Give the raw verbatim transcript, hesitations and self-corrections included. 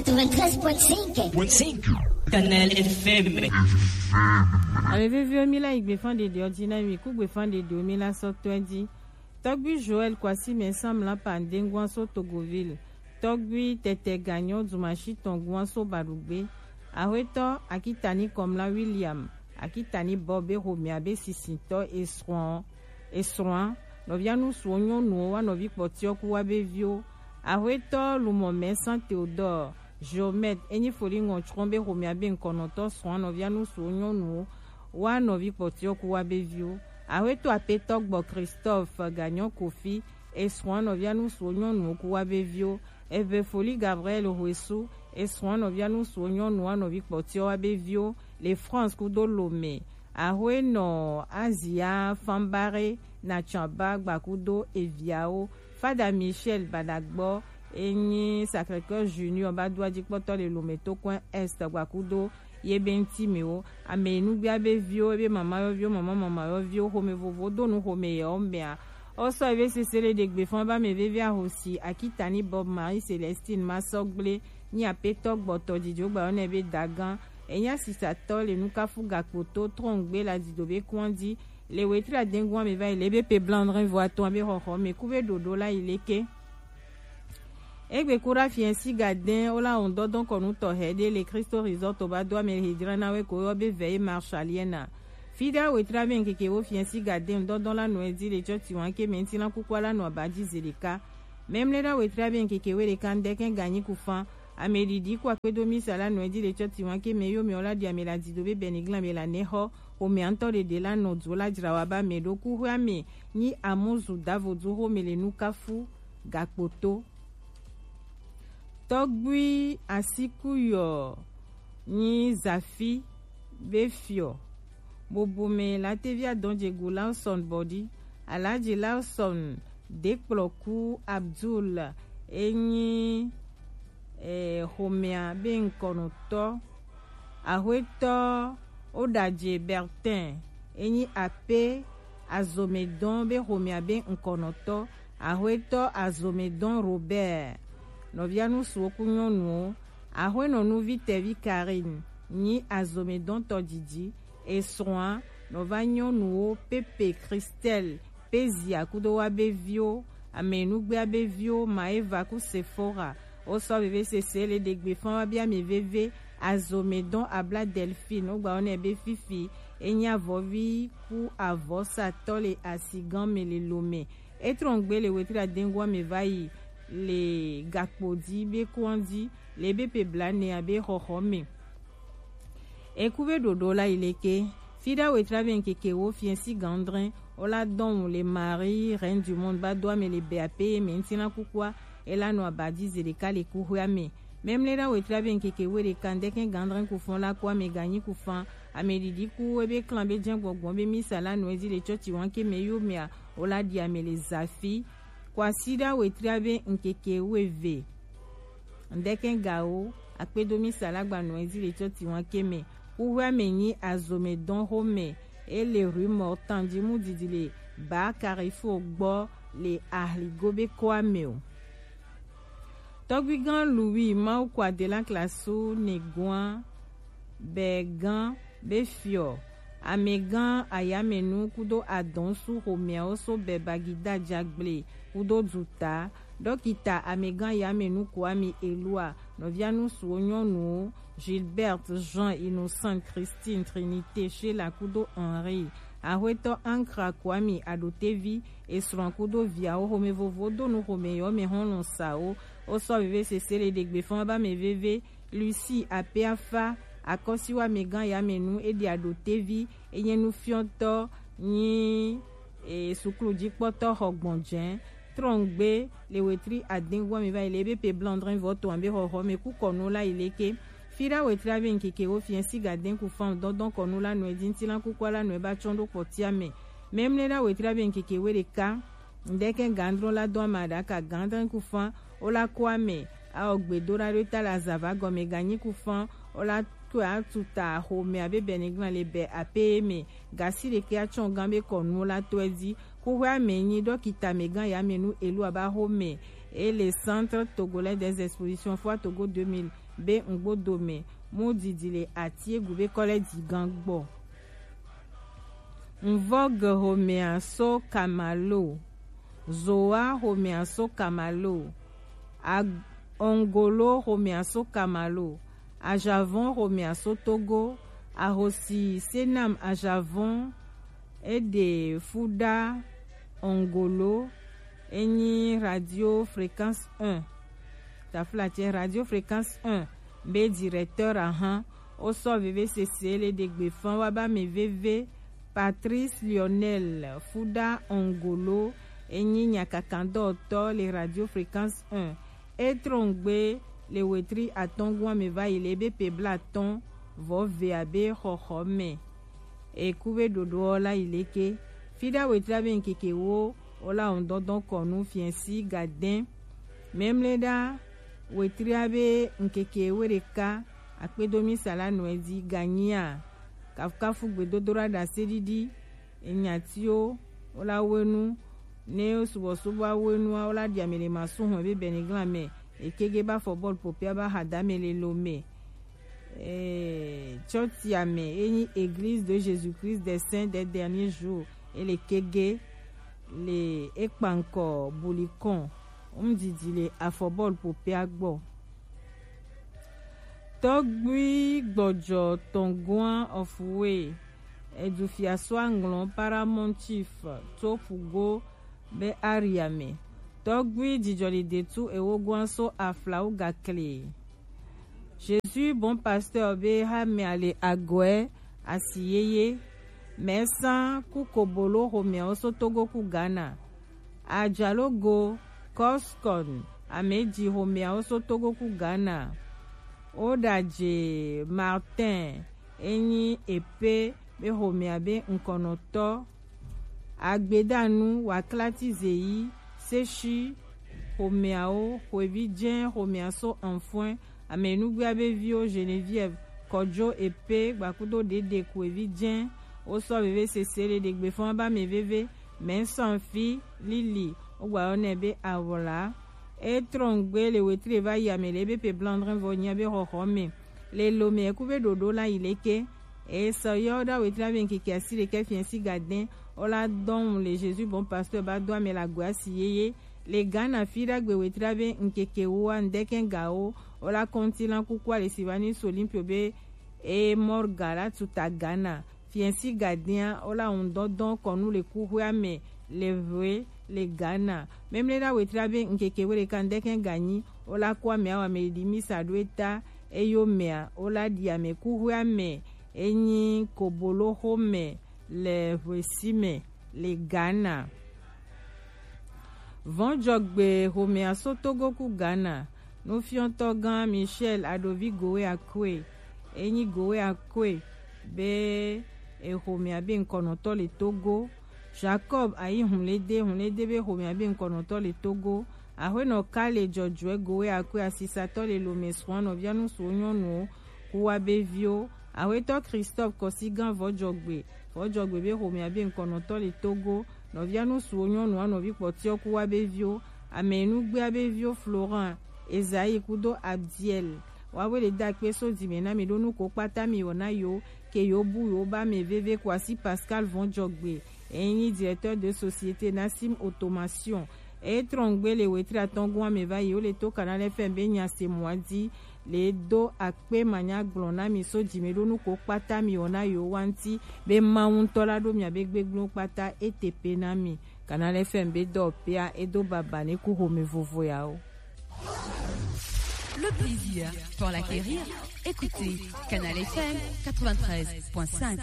Quatre-vingt-treize point cinq. Point cinq. Canal F M. Ame veviwo, mi la yi gbefan ɖeɖewo ji na mi, ku gbefan ɖeɖewo mi la sɔ tɔe ji. Tɔgbui Joël Kwasi mɛ Sam la Pandengua so Togoville. Tɔgbui Tɛtɛ Ganyo Dumashi Tɔngua so Badugbe. Ahwetɔ Akitani Kɔmla William, Akitani Bob be homea be sisitɔ esrɔ̃, esrɔ̃a, nɔvia nusuwo nyɔnuwo wa nɔvi kpɔtiɔ ku wa be viwo. Ahwetɔ Lumɔ mɛ San Theodore, Geomètre, enyi foli ŋɔtsrɔ̃ be homea be ŋkɔnɔtɔ srɔ̃a nɔvia nusuwo nyɔnuwo wa nɔvi kpɔtiɔ ku wa be viwo. Ahwetɔ apetɔ gbɔ Christophe Ganyɔ Kofi, esrɔ̃a nɔvia nusuwo nyɔnuwo ku wa be viwo. Eve foli Gabriel Hoesu, esrɔ̃a nɔvia nusuwo nyɔnuwo wa nɔvi kpɔtiɔ wa be viwo le France kudo Lome. Ahwenɔ Azia Fambare Natsamba gbakudo eviawo. Fada Michel Badagbɔ enyi Sacré-Cœur Junior ba do ajikpɔtɔ le Lome to kɔn Est gbakudo ye be ŋti mɛ wo. Ame nugbea be viwo, ebe mama yɔviwo, mama mama yɔviwo, xome vovo do nu xome yɛ wo mɛa. Wo sɔ ebe sese le ɖegbe fɔn ba mɛ veve ahosi Akitani Bob Marie Celestine Masɔgble nyi apetɔ gbɔtɔ dzidzo gba yɔ nɛ be dagan. Enya sisatɔ le nukafu gakpoto trɔngbe la dido be kɔndi le wetri adengua me va yi le be pe blanc drin vo atɔn be xɔxɔ me ku be ɖoɖo la yi leke. Egbe kura fiɛnsi gadɛn wo la wɔn dɔdɔn kɔnu tɔxɛ ɖe le Kristo Resort ba do ame he dzra na we ko yɔ be veillée marshallienne. Fida wetri abe ŋkeke wo fiɛnsi gadɛn dɔdɔn la nɔ edi le tsɔti wan ke mɛ ŋti la kukua la nɔ aba dzi ze ɖeka. Mɛmlɛ ɖa wetri abe ŋkeke we ɖeka ŋdɛkɛ ganyi kufan. Ame ɖiɖi ku akpedo misa la nɔ edi le tsɔti wan ke mɛ yo mɛ wo la ɖi ame la dido be bɛniglan me la nɛ xɔ. Xomea ŋtɔ ɖeɖe la nɔ dzo la dzra wa ba mɛ ɖo kuxoea me nyi amuzu davodu xome le nukafu gakpoto. Tɔgbui Asikuyɔ nyi Zafi be fiɔ. Bobome la tevi adɔn dzegu Lawson bɔdi. Alaji Lawson dekplɔku Abdul enyi eh, xomea be ŋkɔnɔtɔ. Ahwetɔ Oɖadze Bertin enyi ape azomedɔn be xomea be ŋkɔnɔtɔ. Ahwetɔ azomedɔn Robert nɔvia nusuwo ku nyɔnuwo. Ahwenɔ nuvi tɛvi Karine nyi azomedɔn tɔdidi. Esrɔ̃a nɔva nyɔnuwo Pepe Christelle Pezia kudo wa be viwo, ame nugbea be viwo Maeva ku Sephora. Wo sɔ veve sese le ɖegbe fɔn wa bia mi veve. Azome dɔn abla Delphine wo gba wo nɛ be fifi enyi avɔvi ku avɔsatɔ le asigan me le Lome. Etrɔngbe le wetri adengua me va yi le gakpo di be kɔndi le be pe bla ne abe xɔxɔ me. Eku be ɖoɖo la yi leke. Fida wetri abe ŋkeke wo fiɛsi gandrɛn wo la dɔn le Marie Reine du Monde ba do ame le be ape ye me ŋtina kukua. Ela nɔ abadi ze ɖeka le kuxoea me. Mɛmlɛ ɖa wetri abe ŋkeke wo ɖeka ŋdɛkɛ gandrɛn kufɔn la ko ame ganyi kufan. Ame ɖiɖi ku ebe klan be jɛn gbɔgbɔn be misa la nɔ edi le tsɔtsi wanke me yo mea wo la ɖi ame le zafi. Kwasi ɖa wetri abe ŋkeke wo eve. Ŋdɛkɛ gawo akpedo misa la gba nɔ edi le tsɔtsi wanke me. Kuxoea me nyi azome dɔn xome. Ele rue Mortan ji mu didi le ba Carrefour gbɔ le ahligo be kɔa me o. Tɔgbigan Louis Mawu kɔ ade la klasu negoa bɛgan be fiɔ amɛgan ayamɛnu kudo adɔnsu xomeawo so bɛ bagida jagble kudo duta. Dɔkita amɛgan ayamɛnu Kwame Elua, nɔvia nusuwo nyɔnuwo Gilbert, Jean, Innocent, Christine, Trinité, Sheila kudo Henri, axwetɔ Ankra Kwame Adotevi, esrɔ̃ kudo viawo xome vovo do nu xome yɔ me hɔn lɔn sa wo. Wo sɔ veve sese le ɖegbe fɔn ba me veve. Lucie Apeafa, akɔsiwa amɛgan ayamɛnu edi Adotevi, enye nufiɔtɔ nyi e, suklu jikpɔtɔ xɔ gbɔnjɛ. Trɔngbe le wetri adengua me va yi le ebe pe blanc drin vɔ to ambe xɔxɔ me ku kɔnu la yi leke. Fi ɖa wetri abe ŋkeke wo fiɛ si gaden ku fan dɔndɔn kɔnu la nɔe di ŋti la kukua la nɔe ba tsɔn ɖo kpɔtia me. Mɛmlɛ ɖa wetri abe ŋkeke wo ɖeka ŋdɛkɛ gandrɔ la dɔn ama ɖaka gandrin ku fan wo la kɔ ame. Awɔ gbedoɖa ɖo ta la zava gɔme ganyi ku fan wo la kɔ atuta xome abe bɛniglan le bɛ ape me. Gasi ɖeke atsɔn gan be kɔnu la tɔe di. Kuxoea me nyi dɔkita amɛgan ayamɛnu Elua ba xome. et le Centre Togolais des Expositions Foire Togo deux mille be ŋgbodo me mu didi le atiegu be kɔlɛ digan gbɔ. Nvɔge homea so Kamalo, Zoa homea so Kamalo, Ag-, Ongolo homea so Kamalo, Ajavon homea so Togo, Ahosi Senam Ajavon, Ede Fuda Ongolo, enyi Radio Fréquence un. Taflatse Radio Fréquence un be directeur ahan, o sɔ veve sese le degbe fan wa ba me veve. Patrice Lionel Fuda Ongolo, enyi nyakakandɔtɔ le Radio Fréquence un. E trɔngbe le wetri atɔngua me va yi le be pe blatɔn vɔ ve abe xɔxɔ me. Eku be ɖoɖoɔ la yi leke? Fiɖa wetri abe ŋkeke wo, o la ŋdɔdɔn kɔnu fiɛsi gadɛn. Mɛmlɛɖa wetri abe ŋkeke we ɖeka akpedo misa la nɔɛ di ganyia. Kafukafu gbedodoɖa ɖase ɖiɖi. Enyatiwo, o la wenu, ne subɔsubɔ awenua, o la ɖi ame le masu hɔn be bɛniglan me. Ekege ba fɔ bɔl popia ba ha dame le lo me. Eh, tsɔtia me, enyi Église de Jésus-Christ des Saints des Derniers Jours, ele kege le ekpankɔ bulikɔn, ŋdidi le afɔbɔl popia gbɔ. Tɔgbui gbɔdzɔ tɔngua ɔfuwe, edu fiaso aŋlɔ Paramount Chief to Pugo be aria me. Tɔgbui jijɔli detu ewo gua so aflawo gakle. Jésus Bon Pasteur be ha me ale agɔɛ asi yeye. Mɛsa ku kobolo homeawo so Togo ku Ghana. Ajalogo Coscon ameji homeawo so Togo ku Ghana. Odaje Martin enyi epe be homea be ŋkɔnɔtɔ. Agbedanu waklati zeyi seshi homeawo, hoevi jɛ homea so Anfɔɛ, ame nugbea be viwo Geneviève, Kɔjo epe gbakudo ɖeɖe ku evi jɛ. Wo sɔ veve sese le ɖegbe fɔn ba me veve. Mɛ sɔn fi lili wo gba yɔ nɛ be awla. E trɔn gbe le wetri va yi ame le be pe blandrin vɔ nyia be xɔxɔ me. Le lo me eku be ɖoɖo la yi leke. E sɔ yɔ da wetri be nkeke asi ɖekɛ fiɛ si gadɛn. Wo la dɔn le Jésus bon pasteur ba do ame la gbe asi yeye. Le Ghana fi ɖagbe wetri be nkeke wo a ndɛkɛ ga wo. Wo la kɔnti la kuku ale si va ni so Olympio be e Morga la tuta Ghana. Fiɛsi gadɛa wo la ŋdɔdɔn kɔnu le kuxwea me le ʋue le Ghana. Memle ɖa wetri be nkeke we ɖeka ndɛkɛ ganyi wo la ku ame awa me ɖi misa ɖo eta eyo mea wo la ɖi ame kuxwea me enyi kobolo xo me le ʋuesi me le Ghana. Vɔnjɔgbe xomea so Togo ku Ghana. Nufiɔtɔ gã Michel Adovi Gowe Akwe, enyi Gowe Akwe be exomea be ŋkɔnɔtɔ le Togo. Jacob ayi Hunlede, Hunlede be xomea be ŋkɔnɔtɔ le Togo. Axwenɔ Kale Jɔjɔɛ Gowe Akwe asisatɔ le Lome srɔ̃ nɔvia nusuwo nyɔnuwo ku wa be viwo. Axwetɔ Christophe Kɔsigan Vɔjɔgbe, Vɔjɔgbe be xomea be ŋkɔnɔtɔ le Togo. Nɔvia nusuwo nyɔnua nɔvi kpɔtiɔ ku wa be viwo. Ame nugbea be viwo Florent, Esaïe kudo Abdiel. Wa we le da kpe so dime na mi ɖo nu ko kpata mi wɔ na yo ke yo bu yo ba me veve ko asi Pascal Vɔjɔgbe. Enyi directeur de société Nassim Automation. E trɔngbe le wetri atɔngua me va yi wo le to Canal F M be nya se mɔa di. Le do akpe manya gblɔ na mi so dime ɖo nu ko kpata mi wɔ na yo wa ŋti be Mawu ŋtɔ la ɖo mia be gbegblẽwo kpata e te pe na mi. Canal F M be dɔ pea e do baba ne ku xome vovo yawo. Le plaisir pour l'acquérir, écoutez Canal F M quatre-vingt-treize point cinq.